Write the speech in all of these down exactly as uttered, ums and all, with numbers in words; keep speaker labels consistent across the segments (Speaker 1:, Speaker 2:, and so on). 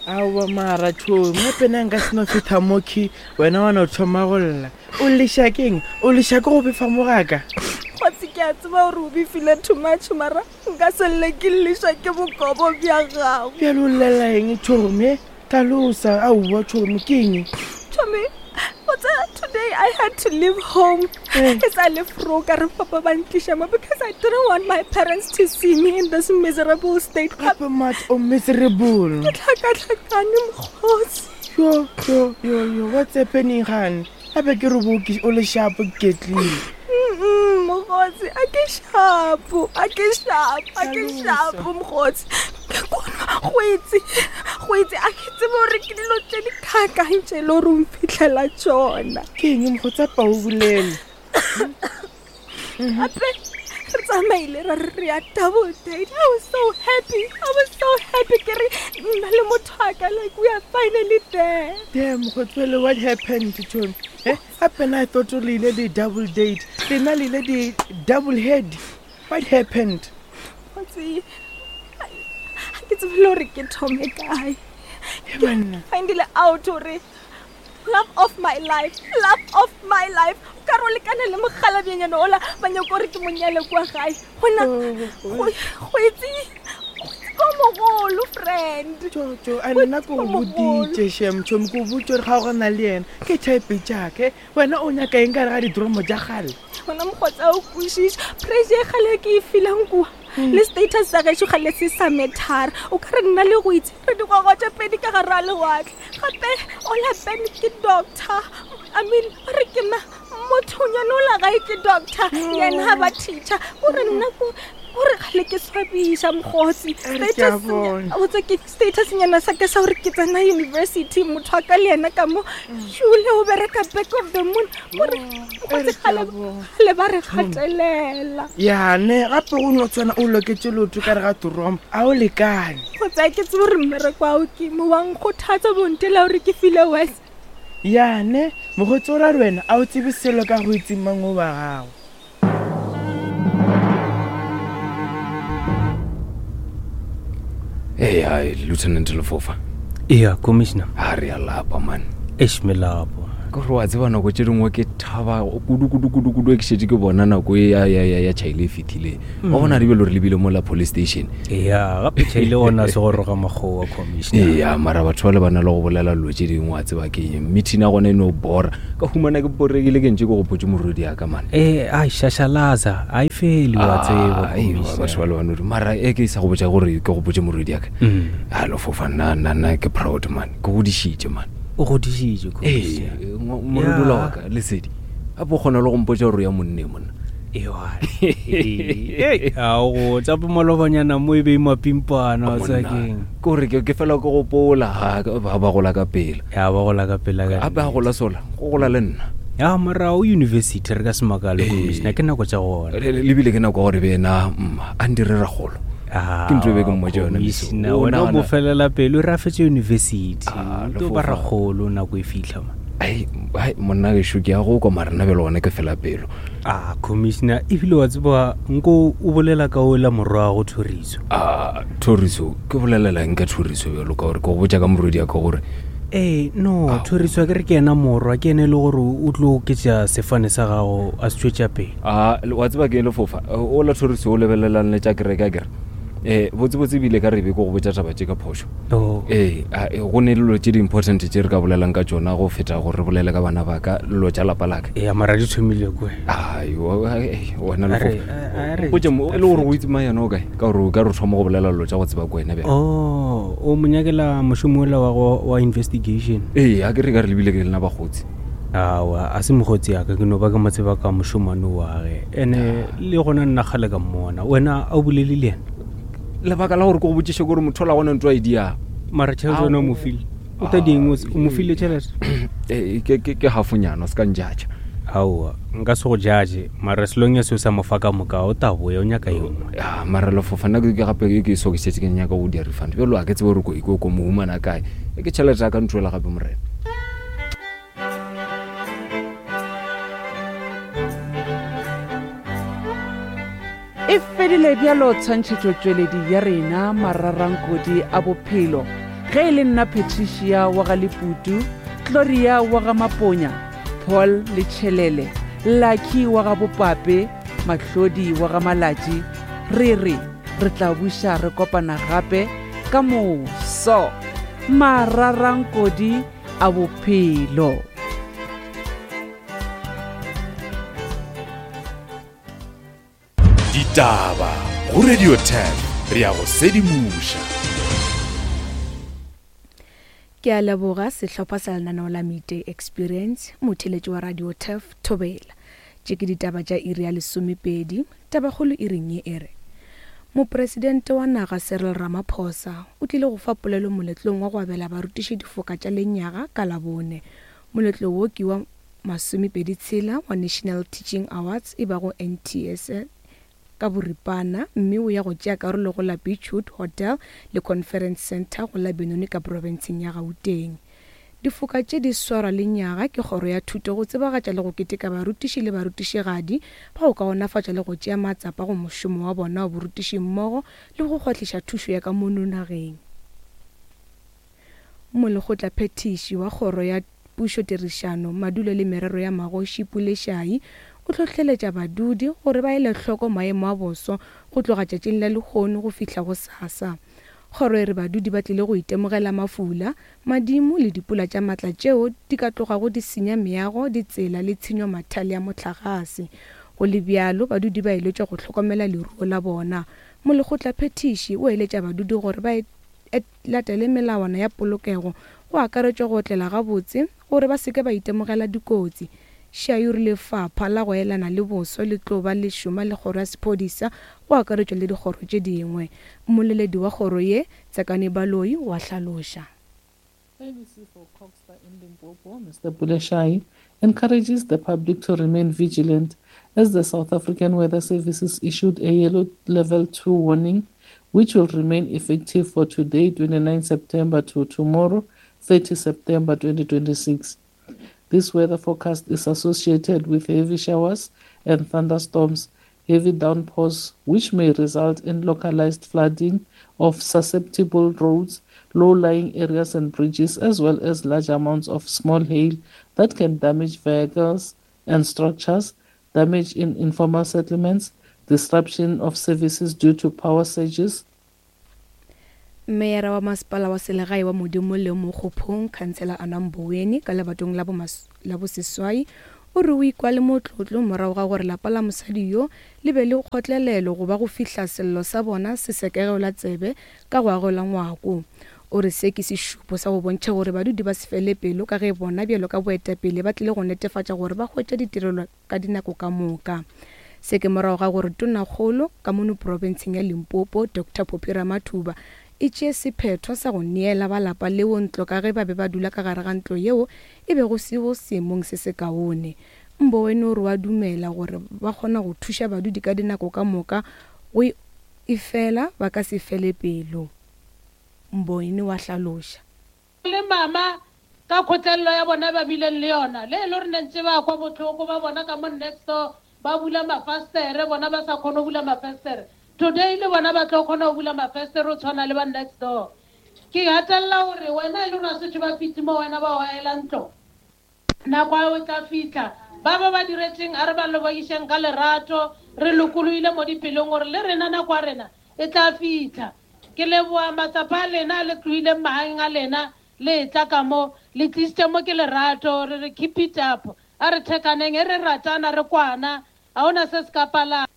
Speaker 1: Aowa mara tšhomi gape na nka seno fetha mokhi wena wa no thoma go lla o leša keng o leša ke go befa mo gaka
Speaker 2: Kgotsi ke a tseba gore o befile too much mara nka se lle ke leša ke bokobo bja gago.
Speaker 1: Bjale o llela eng tšhomi tlhalosa aowa tšhomi ke eng
Speaker 2: Chomi, what's today I had to leave home.
Speaker 1: Eh.
Speaker 2: Ke sa le fro ka re papa ba ntliša mo because I didn't want my parents to see me in this miserable state.
Speaker 1: Gape mat o miserable
Speaker 2: Ke tlhakatlhakane mokgotsi.
Speaker 1: yo yo yo yo what's happening gane gape ke re boke o le shapo ke ketlile
Speaker 2: Mm-mm, mokgotsi a ke shapo a ke shapo a ke
Speaker 1: Hlalosa.
Speaker 2: shapo mokgotsi kono go itse go itse a ke tsebe gore ke dilo tse di kakang tse e le gore o mphitlhela tsona
Speaker 1: ke eng mokgotsa pa o bolele
Speaker 2: gape re tsamaile ra re re ya double date i was so happy i was so happy ke re nna le motho wa ka like we are finally there
Speaker 1: damn mokgotswele what happened tšhomi e gape na I thought o le ile di-double date lena le ile di-double head what happened
Speaker 2: Kgotsi, ga ke tsebe le gore ke thome kae
Speaker 1: e banna
Speaker 2: findile out gore love of my life love of my life o ka re o lekane le mogalabenyana ola ba nyako gore ke monyale kwa gae gona
Speaker 1: Oh,
Speaker 2: go go itse go itse ko mogolo friend
Speaker 1: tšotšo a nna ke o boditše shem tšhomi ke o botse gore ga o gona le yena ke type jaake wena o nyaka eng ka re ga didromo tša gale
Speaker 2: gona mokgotsa o kwešiša pressure e kgale ke e feelang kua le status sa gešo gale se sa methara o ka re nna le go itse re digwagwa tše pedi ka gare a lewatle gape ola ben ke doctor i mean ba re ke ma mothonyana ola gae ke doctor yena ga ba teacher kore nna ko kore gale ke swabiša mokgotsi
Speaker 1: A re ke a bona.
Speaker 2: botsa ke status nyana sa ka sa gore ke tsena university motho wa ka le yena ka mo šule o bereka back of the moon kore mokgotsi
Speaker 1: re ke a
Speaker 2: gale
Speaker 1: bona.
Speaker 2: gale ba re gatelela
Speaker 1: yane gape go no tshwana o loketse lotho ka re ga toromo a o lekane
Speaker 2: kgotsa ke tsebe gore mmereko ao ke mo wa nkgothatsa bontela gore ke file wes
Speaker 1: yane mokgotsi o ra re wena a o tsebe selo ka go itseng mang o wa gago
Speaker 3: ee ai lieutenant lefofa
Speaker 4: eya commissioner
Speaker 3: a re a lapa man
Speaker 4: eish melapo
Speaker 3: ke gore wa tseba nako tše dingwe ke thaba kudu-kudu-kudu-kudu ke šetse ke bona nako e ya- ya ya- ya chaile e fitlhileng wa bona re bele gore lebile mo la police station
Speaker 4: eya gape tšhaile gona se go roga makgowa commissioner
Speaker 3: eya mara batho ba le ba na le go bolela dilo tše dingwe wa tseba ke eng meeting ya gona e no bora ka humana ke borekile ke ntse ke gopotse morodi ya ka mane
Speaker 4: ee ai šašalaza a e fele wa tseba
Speaker 3: Ah, aiwa, batho ba le banodi mara e ke sa go botsa gore ke gopotse morodi ya ka
Speaker 4: Mm.
Speaker 3: a lefofa nna nna nna ke proud man ke godišitše man
Speaker 4: o godišitše
Speaker 3: ee
Speaker 4: commissioner
Speaker 3: morodi ola
Speaker 4: Ya.
Speaker 3: wa ka lesedi gape o kgona le go mpotsa gore ya monne monna
Speaker 4: ao tsa pomalobanyana mo e be mapimpana wa tseba
Speaker 3: Monna,
Speaker 4: keng
Speaker 3: ke gore ke ke fela ke gopola ha, ba ba gola ka pela
Speaker 4: ya ba gola ka pela ka
Speaker 3: gape a gola sola go gola le nna
Speaker 4: ya mara o university re ka se makale
Speaker 3: Ee.
Speaker 4: commissioner ke nako tša gona
Speaker 3: Le- le- lebile ke nako ya gore be ena mma a ndire ragolo
Speaker 4: Ah,
Speaker 3: Ke ntho e be ke mmotša yona mesong.
Speaker 4: commissioner,
Speaker 3: O
Speaker 4: wena o mo
Speaker 3: nagana-
Speaker 4: felela pelo re a fetse university
Speaker 3: Ah,
Speaker 4: o tlo ba
Speaker 3: Lefofa.
Speaker 4: ragolo nako e fitlha ma
Speaker 3: ai ai, monna gešo ke ya go kwa mara nna bjale gona ke fela pelo
Speaker 4: a commissioner ebile wa tseba nko o bolela ka ola morwago thoriso
Speaker 3: a thoriso ke bolelela eng ka thoriso bjalo ka gore ke go botša ka morodi ya ka gore
Speaker 4: ee no thoriso a ke re ke ena morwa ke ene e le gore o tlo oketša sefane sa gago a se tšwetša pele
Speaker 3: a wa tseba ke eng lefofa o la thoriso o lebelelang le tša kereke a kere um botsebotse ebile ka re be ke go botša taba tše ka phošo
Speaker 4: Oh.
Speaker 3: ee a, e, go ne dilo tše di-important tše re ka bolelang ka tšona go feta gore re bolele ka bana ba ka lelo tša lapa laka
Speaker 4: ee mara di thomile kwe
Speaker 3: ai wa- ai, wena
Speaker 4: A re-
Speaker 3: Lefofa.
Speaker 4: a- a re-
Speaker 3: Mpotše mo- e le gore o itse mang yena o kae ka gore o ka re o thoma go bolela lelo tša go tseba ko wena bjale
Speaker 4: oh o mo nyakela mošomo ola wa go- wa investigation
Speaker 3: ee a ke re ka re lebile ke lena bagotsi
Speaker 4: awa a se mokgotsi yaka ke no ba ke mo tseba ka mošomane wage ande le gona nna kgale ka mmona wena a o bolele le yena
Speaker 3: lebaka la gore ke go botšiše kore motho ola gona ntho a e diang
Speaker 4: mara tšhelete wena o mo file o ta ding o se- o mo file tšhelete
Speaker 3: Ee, ke ke- ke hafonyana o se ka njatša
Speaker 4: aowa nka se go judge mara selong ya seo sa mo fa ka moka o ta boya o nyaka ye nngwe
Speaker 3: ya mara lefofa nna ke ke gape ke- ke so ke šetse ke nyaka go dia refund bjalo a ke tsebe gore ko ko ko mo humana kae E ke tšhelete ya ka ntwela gape morena
Speaker 5: E fedile bjalo tshwantšhetšotšweledi ya rena mararankodi a bophelo. Ge e le nna Patricia wa ga Leputu, Gloria wa ga Maponya, Paul Lechelele, Lucky wa ga Bopape, Mahlodi wa ga Malatši, re re re tla buša re kopana gape ka moso. Mararankodi a bophelo.
Speaker 6: Ditaba go Radio ten re ya go sedimoša.
Speaker 2: Ke a leboga sehlopha sa lenaneo la Midday Experience, motheletši wa Radio Turf Thobela. Tše ke ditaba tša iri ya lesomepedi, tabakgolo iring ye e re Mopresidente wa naga Cyril Ramaphosa o tlile go fa polelo moletlong wa go abela barutiši difoka tša lenyaga ka Labone. Moletlo wo ke wa masomepedi tshela wa National Teaching Awards e bago N T S ka boripana, mme o ya go tšea karolo go la Beachwood Hotel le Conference Center go la Benoni ka profenseng ya Gauteng. Difoka tše di swarwa lenyaga ke kgoro ya thuto go tsebagatša le go keteka barutiši le barutišigadi ba go kaonafatša le go tšea matsapa go mošomo wa bona wa borutiši mmogo le go kgwahliša thušo ya ka mono nageng. Molekgotlaphethiši wa kgoro ya pušo tirišano, madulo le merero ya magoši Pule Shayi o hlohleletša badudi gore ba ele hloko maemo a boso go tloga tšatšing la lehono go fihla go sasa. Kgoro e re badudi ba tlile go itemogela mafula, madimo le dipula tša matla tšeo di ka tlogago di senya meago, ditsela le tshenyo mathale a mohlagase. Go le bjalo, badudi ba eletšwa go hlokomela leruo la bona. Molekgotlaphethiši o eletša badudi gore ba latele melawana ya polokego go akaretšwa go otlela gabotse gore ba se ke ba itemogela dikotsi. Shayi o rile lefapha la go elana le boso le tlo ba le šoma le kgoro ya sephodisa go akaretšwa le dikgoro tše dingwe. Mmoleledi wa kgoro ye, Tsakani Baloyi, wa hlaloša.
Speaker 7: A B C for Cogstar in Limpopo, Mister Pule Shayi, encourages the public to remain vigilant as the South African Weather Services issued a yellow level two warning, which will remain effective for today, twenty-ninth September, to tomorrow, thirtieth September twenty twenty-six. This weather forecast is associated with heavy showers and thunderstorms, heavy downpours, which may result in localized flooding of susceptible roads, low-lying areas and bridges, as well as large amounts of small hail that can damage vehicles and structures, damage in informal settlements, disruption of services due to power surges.
Speaker 2: Meyara wa masepala wa selegae wa Modimo le Mokgophong, Khansela Anna Mboweni, ka lebatong la la boseswai, o re o ikwa le motlotlo morago ga gore lapa la mosadi yo le be le kgotlelelo go ba go fihla sello sa bona se sekegelwa tsebe ka go agelwa ngwako. O re se ke sešupo sa go bontšha gore badudi ba se fele pelo ka ge bona bjalo ka boetapele ba tlile go netefatša gore ba hwetša ditirelo ka dinako ka moka. Se ke morago ga gore tonakgolo ka mono profenseng ya Limpopo, Doctor Phophi Ramathuba, e tšee sephetho sa go neela ba lapa leo ntlo ka ge ba be ba dula ka gare ga ntlo yeo e bego se go seemong se se kaone. Mboweni o re wa dumela gore ba kgona go thuša badudi ka dinako ka moka go efela ba ka se fele pelo. Mboweni wa hlaloša.
Speaker 8: Le mama ka kgotlelelo ya bona ba bileng le yona, le e le gore ne ntse ba kwa botlhoko ba bona ka mo next door ba bula mafastere, bona ba sa kgone go bula mafastere. Today le bona ba tlo kgona go bula mafestere o tshwana le ba next door. Ke gatelela gore wena e le gore a setse ba fitlhe mo wena ba oela ntlo, nako a o tla fitlha ba ba ba diretseng a re ba lebogišeng ka lerato, re lokolohile mo dipelong gore le rena nako ya rena e tla fitlha. Ke leboa matsapa a lena le tlohileng magaeng a lena le tla ka mo le tlisitše mo ke lerato, re re keep it up, a re thekaneng e re ratana re kwana, ga ona se se ka palang.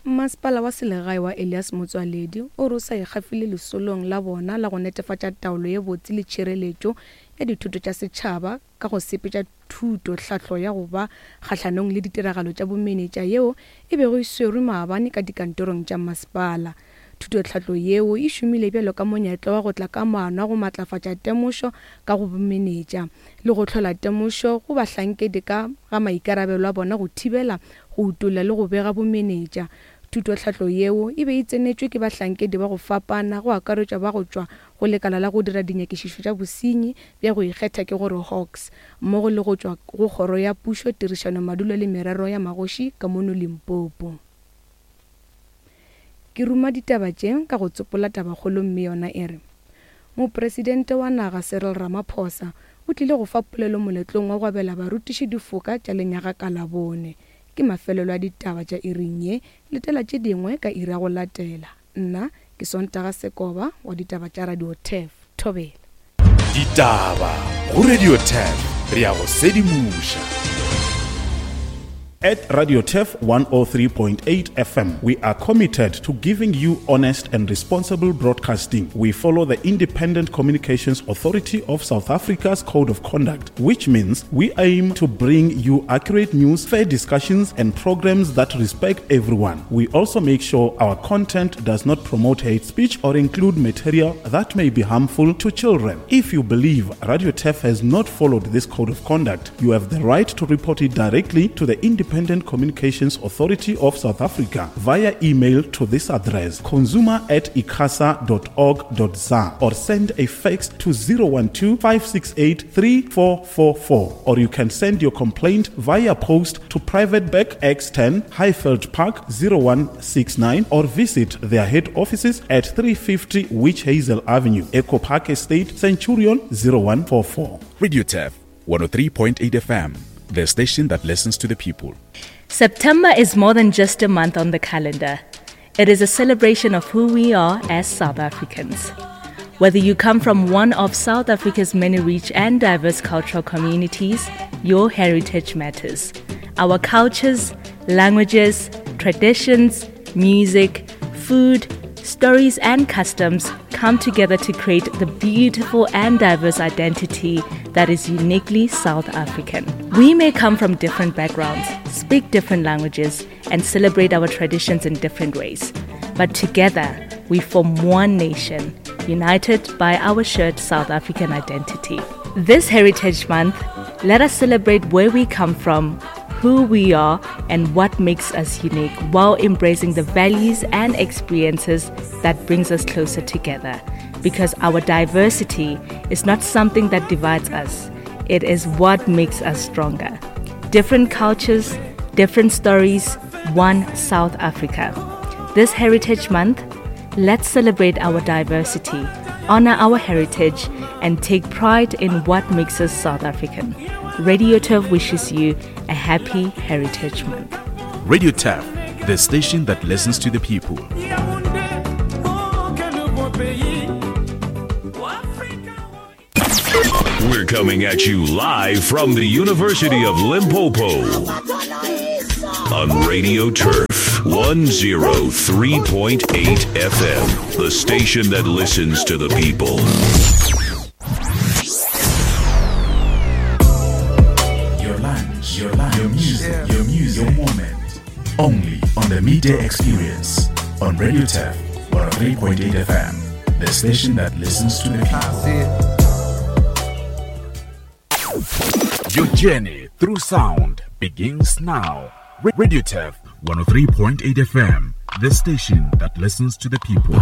Speaker 2: Masepala wa selegae wa Elias Motsoaledi o re o sa ikgafile lesolong la bona la go netefatša taolo ye botse le tšhireletšo ya dithuto tša setšhaba ka go sepetša thuto tlhahlo ya go ba kgahlanong le ditiragalo tša bomenetša yeo e bego e swerwe maabane ka dikantorong tša masepala. Thuto tlhahlo yeo e šomile bjalo ka monyetla wa go tla ka maano a go matlafatša temošo ka go bomenetša le go hlola temošo go bahlankedi ka ga maikarabelo a bona go thibela, go utolla le go bega bomenetša. Thuto tlhahlo yeo e be e tsenetšwe ke bahlankedi ba go fapana go akaretšwa ba go tšwa go lekala la go dira dinyakišišo tša bosenyi bja go ikgetha ke gore Hawks, mmogo le go tšwa go kgoro ya pušo, tirišano, madulo le merero ya magoši ka mono Limpopo. Ke ruma ditaba tše ka go tsopola tabakgolo mme yona e re
Speaker 9: Mopresidente wa naga Cyril Ramaphosa o tlile go fa polelo moletlong wa go abela barutiši difoka tša lenyaga ka Labone. Ke mafelelo a ditaba tša iring ye, letela tše dingwe ka iri ya go latela. Nna ke Sontaga Sekoba wa ditaba tša Radio Turf. Thobela.
Speaker 6: Ditaba go Radio Turf, re ya go sedimoša.
Speaker 10: At Radio Turf one oh three point eight F M, we are committed to giving you honest and responsible broadcasting. We follow the Independent Communications Authority of South Africa's Code of Conduct, which means we aim to bring you accurate news, fair discussions, and programs that respect everyone. We also make sure our content does not promote hate speech or include material that may be harmful to children. If you believe Radio Turf has not followed this Code of Conduct, you have the right to report it directly to the Independent Independent Communications Authority of South Africa via email to this address, consumer at icasa dot org dot za, or send a fax to zero one two, five six eight, three four four four, or you can send your complaint via post to Private Bag X ten, Highveld Park zero one six nine, or visit their head offices at three fifty Witch Hazel Avenue, Echo Park Estate, Centurion zero one four four.
Speaker 6: Radio Turf one oh three point eight F M, the station that listens to the people.
Speaker 11: September is more than just a month on the calendar. It is a celebration of who we are as South Africans. Whether you come from one of South Africa's many rich and diverse cultural communities, your heritage matters. Our cultures, languages, traditions, music, food, stories and customs come together to create the beautiful and diverse identity that is uniquely South African. We may come from different backgrounds, speak different languages, and celebrate our traditions in different ways. But together, we form one nation, united by our shared South African identity. This Heritage Month, let us celebrate where we come from, who we are, and what makes us unique, while embracing the values and experiences that brings us closer together. Because our diversity is not something that divides us, it is what makes us stronger. Different cultures, different stories, one South Africa. This Heritage Month, let's celebrate our diversity, honor our heritage, and take pride in what makes us South African. Radio Turf wishes you a happy Heritage Month.
Speaker 6: Radio Turf, the station that listens to the people.
Speaker 12: We're coming at you live from the University of Limpopo on Radio Turf one oh three point eight F M, the station that listens to the people.
Speaker 6: Your lunch, your lunch, your music, your music, your moment. Only on the Midday Experience on Radio Turf one oh three point eight F M, the station that listens to the people. Your journey through sound begins now. Radio Turf one oh three point eight F M, the station that listens to the people.